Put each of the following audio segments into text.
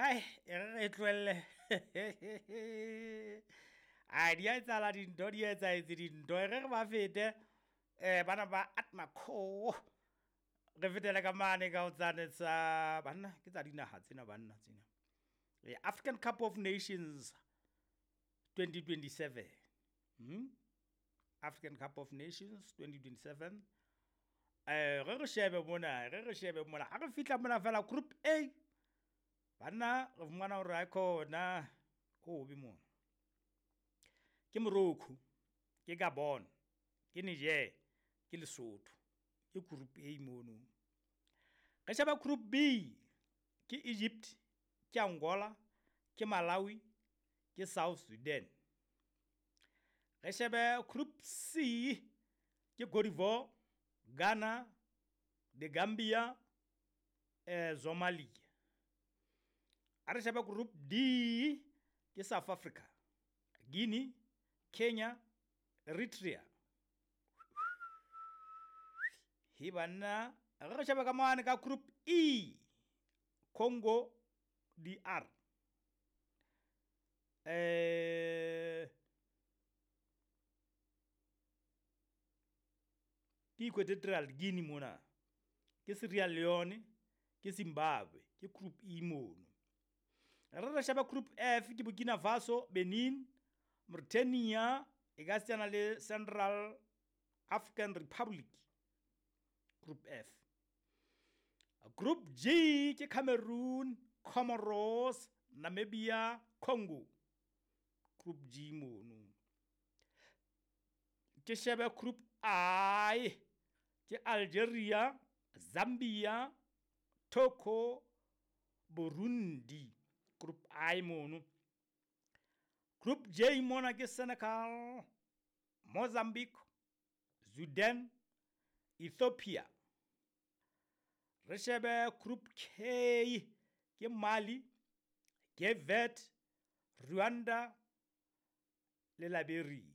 Ai, e re re tlohelle. Ai, di a etsahala dintho, di etsahetse dintho. E re re ba fete bana ba Atmaco. Re fetele ka mane ka ho tsane tsa banna, ke tsa dinaha tsena banna tsena. African Cup of Nations 2027. African Cup of Nations 2027. Re re shebe mona, re re shebe mona. Ha re fihla mona fela Group A. Banna re fumana hore ha khona ho be mona. Ke Morocco, ke Gabon, ke Niger, ke Lesotho. Ke Group A mono. Re sheba Group B, ke Egypt, ke Angola, ke Malawi, ke South Sudan. Re shebe Group C, ke Cote d'Ivoire, Ghana, the Gambia, Somalia. A re shebe Group D, ke South Africa, Guinea, Kenya, Eritrea. He banna, re shebe ka mane ka Group E, Congo DR. Ke Equatorial Guinea mona, ke Sierra Leone, ke Zimbabwe, ke Group E mono. Re re sheba Group F, ke Burkina Faso, Benin, Mauritania, e ka setsana le Central African Republic. Group F. Group G ke Cameroon, Comoros, Namibia, Congo. Group G mono. Ke shebe Group I, ke Algeria, Zambia, Togo, Burundi. Group I mono. Group J mona ke Senegal, Mozambique, Sudan, Ethiopia. Re shebe Group K ke Mali, Cape Verde, Rwanda le Liberia.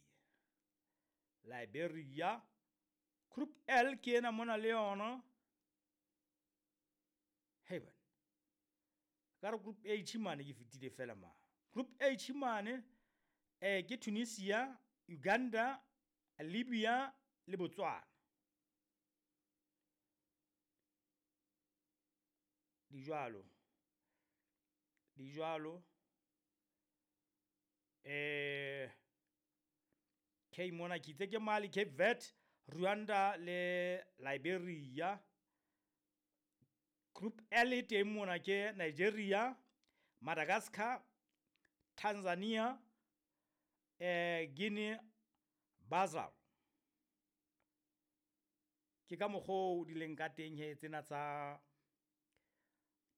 Liberia. Group L ke ena mona le yona. Hey bana. Ka re Group H mane ke fetile fela ma. Group H mane ke Tunisia, Uganda, Libya le Botswana. Di jwalo. Di jwalo. K mona ke itse ke Mali, Cape Verde, Rwanda le Liberia. Group L e teng mona ke Nigeria, Madagascar, Tanzania, Guinea Bissau. Ke ka mokgwa o di leng ka teng he tsena tsa,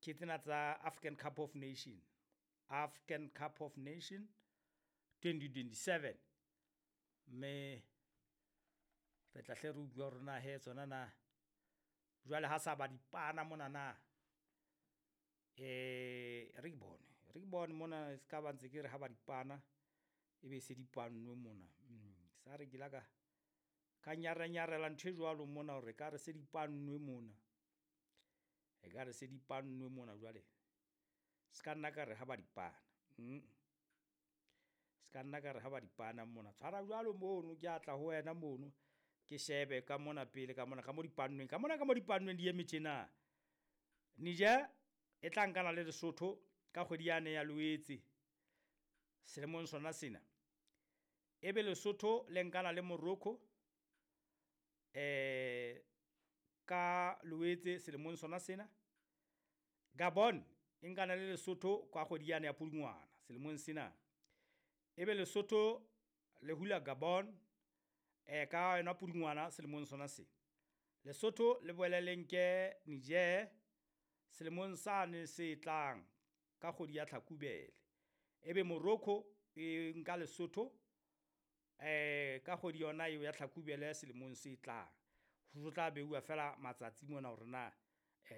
ke tsena tsa African Cup of Nation. African Cup of Nation 2027. Mme re tla hle re utlwa hore na he tsona na jwale ha sa ba dipana mona na. Re ke bone, re ke bone mona se ka ba ntse ke re ha ba dipana e be se dipannwe mona. Sa re ke la ka ka nyarenyarela ntho e jwalo mona hore ka re se dipannwe mona. E ka re se dipannwe mona jwale. Se ka nna ka re ha ba dipana. Se ka nna ka re ha ba dipana mona. Tshwara jwalo mono ke atla ho wena mono. Ke shebe ka mona pele ka mona ka mo dipannweng. Ka mona ka mo dipannweng di eme tjena. Niger e tla nkana le Lesotho ka kgwedi yane ya Loetse selemong sona sena. Ebe Lesotho le nkana le Morocco ka Loetse selemong sona sena. Gabon e nkana le Lesotho ka kgwedi yane ya Pudungwana selemong sena. Ebe Lesotho le hula Gabon ka yona Pudungwana selemong sona sena. Lesotho le boele le nke Niger selemong sane se tlang ka kgwedi ya Tlhakubele. Ebe Morocco e nka Lesotho ka kgwedi yona eo ya Tlhakubele selemong se tlang. Ho tla beuwa fela matsatsi mona hore na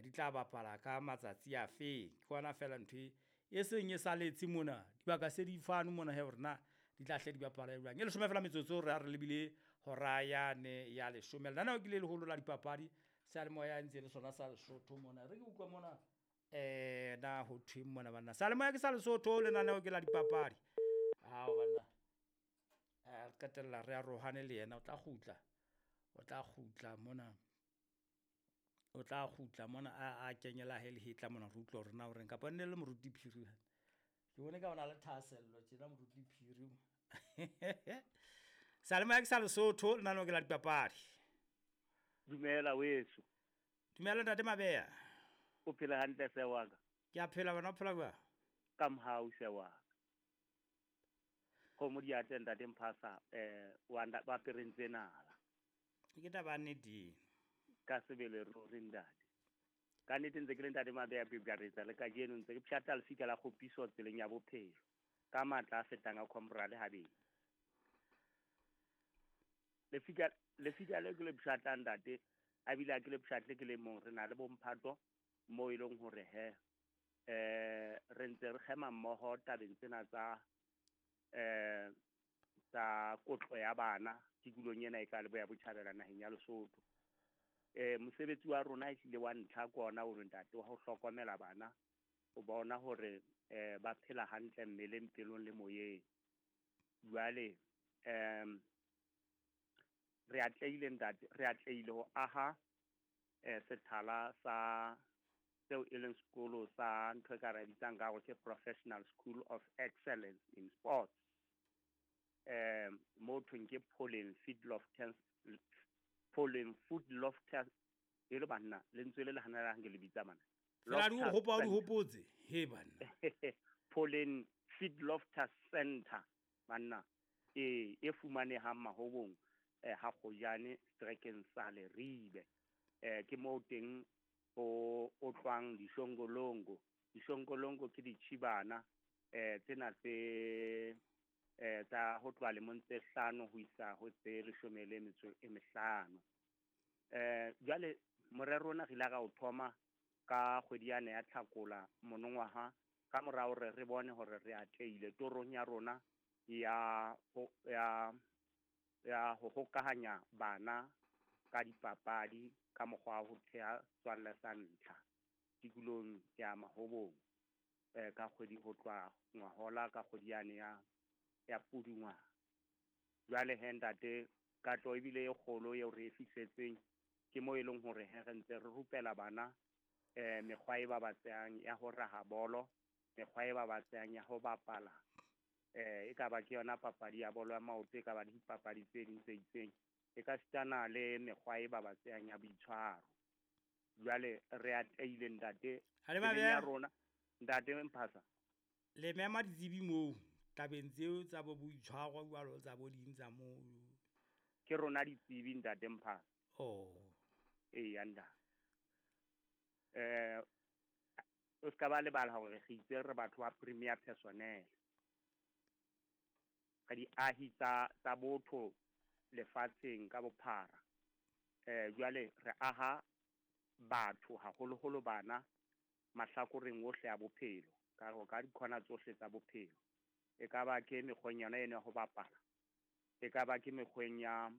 di tla bapala ka matsatsi a feng. Ke hona fela ntho e seng e saletse mona. Dibaka se di fano mona he hore na di tla hle di bapala jwang. E leshome fela metsotso re ha re lebile hora yane ya leshome. Lenaneo ke le leholo la dipapadi. Seyalemoya ntse le sona sa Lesotho mona. Re ke utlwa mona Na ho thweng mona banna? Salemoya ke sa Lesotho, lenaneo ke la dipapadi. Ao banna, re qetella re arohane le yena, o tla kgutla, o tla kgutla mona, o tla kgutla mona a kenyela he lehetla mona, re utlwe hore na o reng, kapa nne le Moruti Phiri. Ke bone ka ona le thahasello tjena Moruti Phiri. Salemoya ke sa Lesotho, lenaneo ke la dipapadi. Dumela weso. Dumela ntate Mabeya. O phela hantle se wa ka? Ke a phela, wena o phela jwang? Ka mohau se wa ka. Kgomo di atle ntate Mphasa, wa ba perentse nala. Ke taba ya nnete. Ka sebele ruri ntate. Ka nnete ntse ke le ntate Mabeya Bibjaretsa le kajeno ntse ke pshatla lefika la kgopiso tseleng ya bophelo. Ka matla a fetang a comrade habedi. Lefika le ke le pshatla ntate, a bile a ke le pshatle ke le mong, re na le bomphato mo e leng hore he re ntse re kgema mmoho tabeng tsena tsa tsa kotlo ya bana tikolong ena e ka Leboya Botjhabela naheng ya Lesotho. Mosebetsi wa rona ehlile wa ntlha ke ona o ntate wa ho hlokomela bana, ho bona hore ba phela hantle mmeleng, pelong le moyeng. Jwale re atlehile ntate, re atlehile ho aha sethala sa seo e leng sekolo sa ntho e ka re bitsang ka hore ke Professional School of Excellence in Sports. Mo thweng ke Pollen Food Loftus, e le banna lentswe le le hanalang ke le bitsa mana. Fela di o hopa o di hopotse, he banna. Pollen Food Loftus Center banna, e fumanehang Mahobong ha Kgojane strekeng sa Leribe. Ke moo teng o otlwang dishongolongo. Dishongolongo ke ditjhibana tsena tse tsa ho tloha lemong tse 5 ho isa ho tse 15. Jwale morero ona re ile ra o thoma ka kgwedi yane ya Tlhakola monongwaha, ka mora hore re bone hore re atlehile torong ya rona ya ho hokahanya bana ka dipapadi ka mokgwa wa ho theha tswalle sa ntlha tikolong ya Mahobong, ka kgwedi ho tloha ngwahola ka kgwedi yane ya Pudungwana. Jwale he ntate, katlo ebile e kgolo eo re e fihletseng ke mo e leng hore he re ntse re rupela bana mekgwa e babatsehang ya ho raha bolo, mekgwa e babatsehang ya ho bapala, e ka ba ke yona papadi ya bolo ya maoto, e ka ba le dipapadi tse ding tse itseng, e ka sitana le mekgwa e babatsehang ya boitshwaro. Jwale re atlehile ntate ya rona, ntate Mphasa. Le mema ditsebi moo tabeng tseo tsa bo boitshwaro jwalo tsa bo ding tsa moo. Ke rona ditsebi ntate Mphasa. Oh. Eya ntate. O ska ba lebala hore re itse re batho ba premier personnel. Re diahi tsa botho lefatsheng ka bophara. Jwale re aha batho haholoholo bana mahlakoreng ohle a bophelo, ka ho ka dikhona tsohle tsa bophelo. E ka ba ke mekgweng yona eno ya ho bapala, e ka ba ke mekgweng ya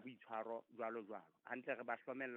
boitshwaro jwalo jwalo. Hantle re ba hlomella